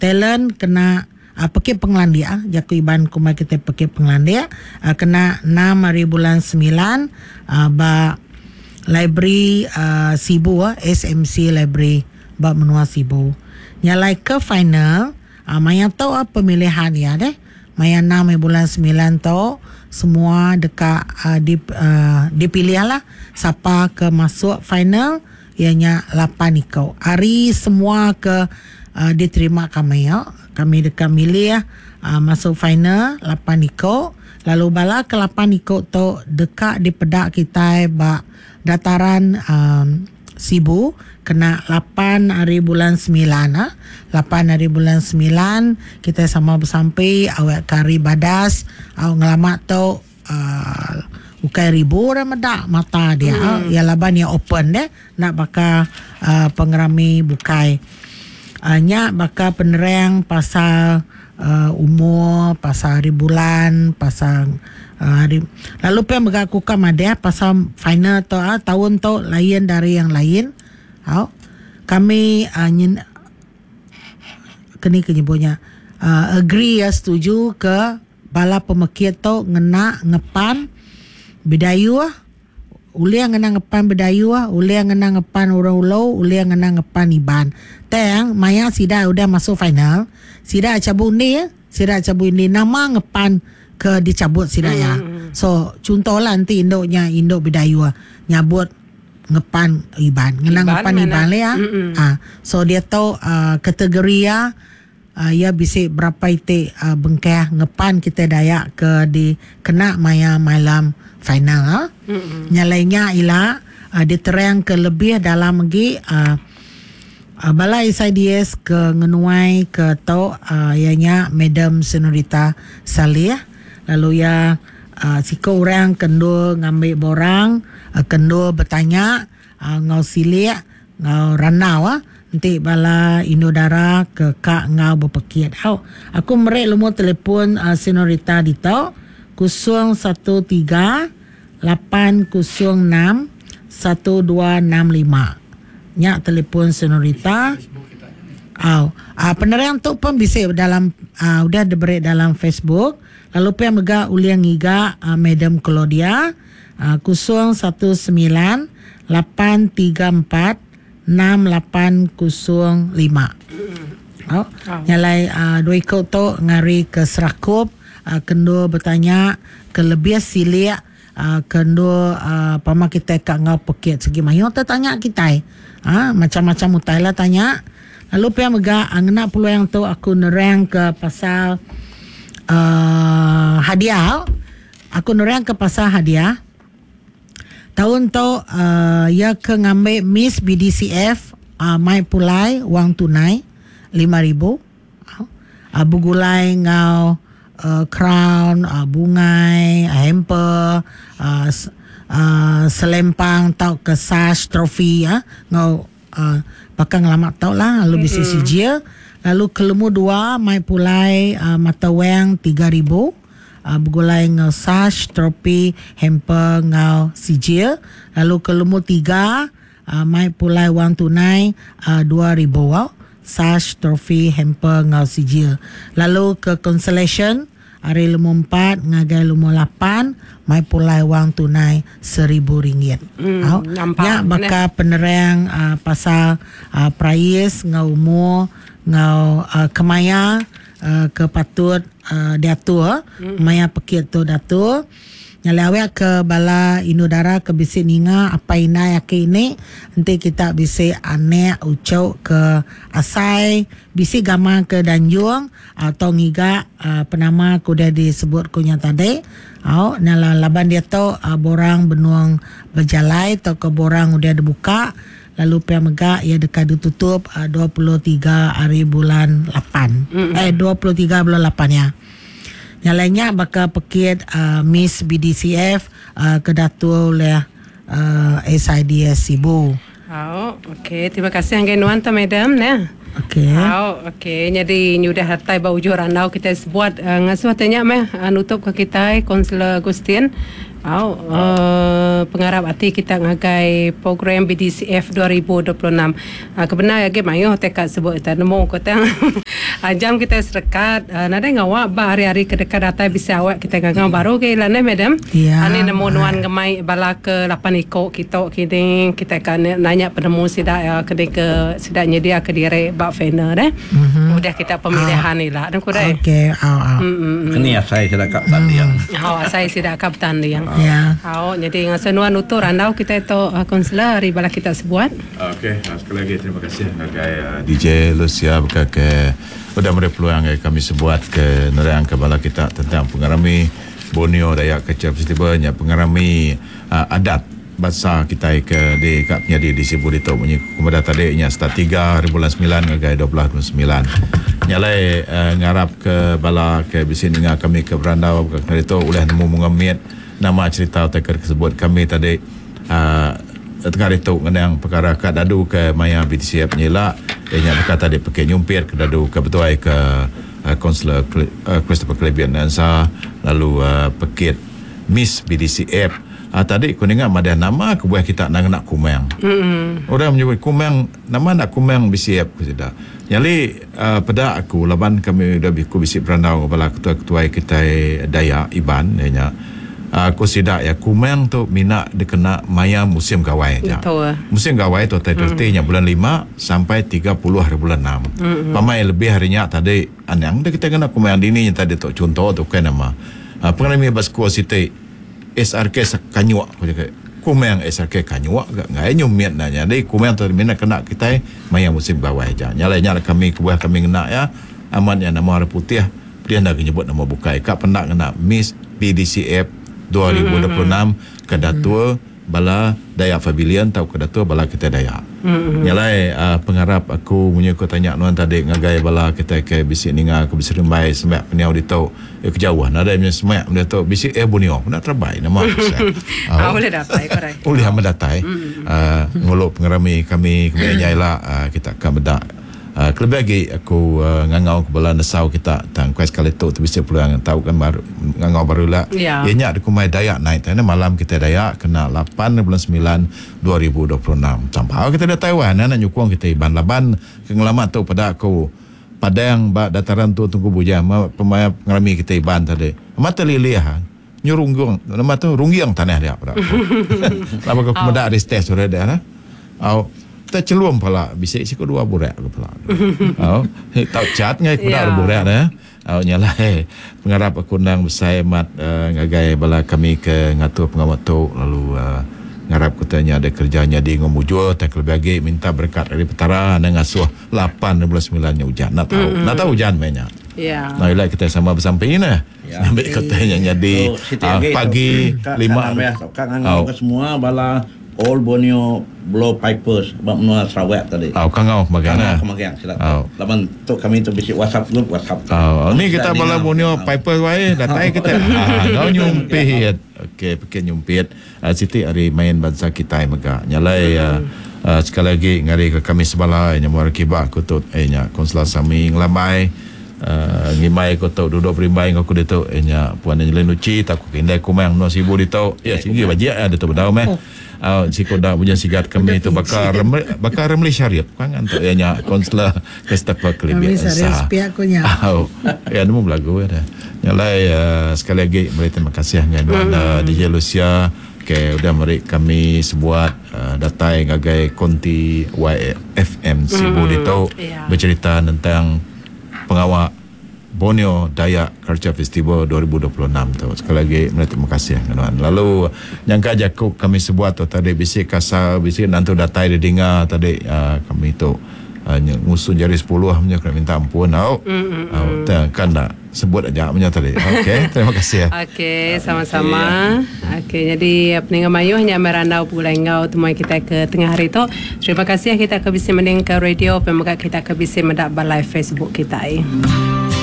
Talent kena pekit pengelandik jaku Iban kumbai kitai pekit pengelandik kena enam hari bulan semilan ba library Sibu SMC Library ba menua Sibu. Nya alai ke final maya tu pemilihan iya deh maya enam hari bulan semilan tu semua deka dipilih lah sapa ke masuk final. Iya nya lapan iku. Ari semua ke diterima kami, kami deka milih masuk final lapan iku lalu bala ke lapan iku tu deka dipeda kitai ba dataran Sibu kena lapan ari bulan semilan. Lapan ari bulan semilan kitai sama besampi awakka hari badas au ngelama tu. uhh ukai ribu orang meda mata dia mm. Ya laban iya open deh enda baka uhh pengerami bukai. uhh Nya baka penerang pasal uhh umur, pasal hari bulan, pasal uhh hari lalu pia mega aku ka madah pasal final tu uhh taun tu lain dari yang lain. Au kami uhh nyen keni ke nyebut nya uhh agree iya setuju ke Bala pemekit tu ngena ngepan Bidayuh, ulih ngena ngepan Bidayuh, ulih ngena ngepan Orang Ulu, ulih ngena ngepan Iban. Tang maya sida udah masuk final, sida chabut undi, sida chabut undi nama ngepan ke dichabut sida iya. So chunto lah enti indu nya indu Bidayuh nyabut ngepan Iban, ngena ngepan Iban lah iya. So diatu kategori iya. Iya bisi berapa iti bengkah ngepan kitai Dayak ke dikena maya malam final. Nya alai nya ila diterang ke lebih dalam agi bala SIDS ke ngenuai ke tu iya nya Madam Senorita Salih lalu iya siku orang ke endur ngambi borang ke endur betanya enggau silik Enggau randau enti bala indu dara ke ka enggau bepekit au. Aku meri lumur telefon Senorita ditu 013 806 1265. Nya telefon Senorita. Au. Penerang tu pun bisi dalam udah diberi dalam Facebook lalu pia mega ulih ngiga Madam Claudia. 019 834 6805. Au. Nya alai dua iku tu ngari ke serakup ke endur betanya ke lebih silik ke endur pama kitai ka enggau pekit sigi mayuh te tanya kitai. Macam-macam utai lah tanya. Lalu pia mega ngena peluang tu aku nerang ke pasal hadiah. Aku nerang ke pasal hadiah. Taun tu iya ke ngambi Miss BDCF mai pulai wang tunai 5000 begulai enggau crown, bungai, hamper, selempang tauka sash trofi enggau baka ngelama tu lah lalu bisi sijil. Lalu ke lemu dua mai pulai mata wang 3000. Begulai enggau sash, tropi, hamper enggau sijil. Lalu ke lumur tiga mai pulai wang tunai 2000 au. Sash, trofi, hamper enggau sijil. Lalu ke consolation ari lumur empat ngagai lumur lapan mai pulai wang tunai seribu ringgit. Au. Nya baka penerang pasal perais enggau umur enggau kemaya ke patut diatur maya pekit tu diatur. Nyadi awek ke bala indu dara ke bisi ninga apai indai aki ini enti kita bisi anek uchu ke asai bisi gamal ke danjung atau ngiga penama ke udah disebut ku nya tadi au nya laban diatu borang benung bejalai tauka borang udah dibuka. Lalu pia mega iya deka ditutup 23 hari bulan lapan. Eh 23 bulan lapan iya. Nya alai nya baka pekit Miss BDCF ke diatur ulih SIDS Sibu. Au, okey. Terima kasih ngagai nuan tu madam neh. Okey. Au, okey. Nyadi nyudah datai ba ujung randau kitai sebuat ngasuh te nya meh nutup ke kitai Kaunselor Agustin. Au, pengarap ati kita ngagai program BDCF 2026. Ke bendar agi mayuh utai ka sebut kita nemu ko tang. Jam kitai serekat nadai ngawa ba hari-hari ke deka datai bisi awak kitai ngangau baru ke ila neh madam. Ani nemu nuan ngemai bala ke lapan iko kitu kini kitai ka nanya penemu sida iya ke ke sida nyedia ke diri ba final deh. Udah kita pemilihan ila ne ku deh. Okey au au. Keni asai sida ka betanding. Au asai sida ka betanding. Au nyadi ngasuh nuan nutu randau kitai tu kaunselor ari bala kita sebuat. Okey, sekali agi terima kasih ngagai DJ Lucia baka ke udah meri peluang ngagai kami sebuat ke nerangka bala kita tentang pengerami Borneo Dayak Culture Festival nya pengerami adat bansa kitai ke di ka penyadi di Sibu ditu munyi ku madah tadi nya start tiga hari bulan semilan ngagai 12 bulan semilan. Nya alai ngarap ke bala ke bisi ninga kami ke berandau baka ke ditu ulih nemu munga mit nama cherita utai ke disebut kami tadi uhh tengah ditu ngenang pekara ka dadu ke maya BTCF nyila iya nya baka tadi pekit nyumpit ke dadu ke betuai ke Kaunselor Christopher Clebian Nansa lalu pekit Miss BDCF uhh tadi ku ninga madah nama kebuah kita enda ngena kumang. Orang menyebut kumang nama enda kumang BCF ku sida. Nyali uhh peda aku laban kami udah ku bisi berandau enggau bala ketuai-ketuai kitai Dayak Iban iya nya uhh ku sida iya kumang tu mina dikena maya musim gawai aja. Musim gawai tu tai reti nya bulan lima sampai 30 hari bulan enam. Pamai lebih ari nya tadi anang deh kitai ngena kumang dini nya tadi tu chunto tu ukai nama. Uhh pengerami ba sekul siti SRK Kanyuk ku jaku kumang SRK Kanyuk ga enggai nyumit ne nyadi kumang tu mina kena kitai maya musim gawai aja. Nya alai nya kami kebuah kami ngena iya amat nya nama orang putih pedih enda nyebut nama bukai ka penda ngena Miss BDCF 2026 ke datur bala Dayak Pavilion tauka datur bala kitai Dayak. Nya alai pengarap aku munyi ku tanya nuan tadi ngagai bala kitai ke bisi ninga ke bisi rimbai semak pendiau ditu eh ke jauh nadai meh semak meh ditu bisi Air Borneo pun terebai nama ku seh. Ulih datai ku deh. Ulih amat datai ngulu pengerami kami ke meh nya ila kita ka meda. Kelebih agi aku ngangau ke bala nesau kita tang kuai sekali tu ti bisi peluang tau kan baru ngangau baru ila. Iya nya dikumbai Dayak Night nya malam kitai Dayak kena lapan bulan semilan 2026. Sampau kitai datai wah enda nak nyukung kitai Iban laban ke ngelama tu peda aku padang ba dataran tu Tungku Bujang pemaya pengerami kitai Iban tadi amat telilih. Nyu runggung nama tu rungging tanah dia peda aku. Laban aku meda ari stage tu dia nah. Au te chelum pala bisi siku dua burak ke pala. Au tau chat ngai peda yeah. burak dah. Au nya alai pengarap aku endang besai amat uh, ngagai bala kami ke ngatur pengawa tu lalu uh, ngarap kita nya ada kerja nyadi enggau mujur tak lebih agi minta berkat ari Petara anang ngasuh 8 bulan 9 nya ujan. Nak tahu. Mm-hmm. Nak tahu ujan meh nya. Ya. Nah, ila kita sama besampi nah. Ngambi ke utai nya nyadi pagi lima. Ka ngangau ke semua bala Old Borneo Blow Pipers ba menua Sarawak tadi. Au ka ngau ke magang nah. Ka ngau ke magang sida tu. Laban tu kami tu bisi WhatsApp group WhatsApp tu. Au ni kita bala Borneo Pipers wai datai kita ngau nyumpit. Okey pekit nyumpit siti ari main bansa kitai mega. Nya alai sekali agi ngari ke kami sebala nya muar kiba ku tu nya Konsla Sami Ngelambai. Ngimbai ku tu duduk berimbai enggau aku ditu iya nya Puan Angeline Luchi tauka ke indai Kumang menua Sibu ditu. Iya sigi bajik iya ditu bedau meh. Au siku da bujang sigat kami tu baka baka Ramli Sharip kan tu iya nya Kaunselor Christopher Kelibit Ensa. Au iya nemu belagu iya dah. Nya alai sekali agi meri terima kasih ngagai nuan DJ Lucia ke udah meri kami sebuat datai ngagai konti YFM Sibu ditu becherita nentang pengawa Borneo Dayak Culture Festival 2026 tu. Sekali agi meri terima kasih ngagai nuan. Lalu nyangka jaku kami sebuat tu tadi bisi kasar, bisi nentu datai didinga tadi kami tu ngusun jari sepuluh menya kena minta ampun au. Au kan enda sebut aja menya tadi. Okey, terima kasih. Okey, sama-sama. Okey, nyadi peninga mayuh nya meh randau begulai enggau temuai kitai ke tengah hari tu. Terima kasih kita ke bisi mendingka radio pia mega kita ke bisi meda ba live Facebook kitai.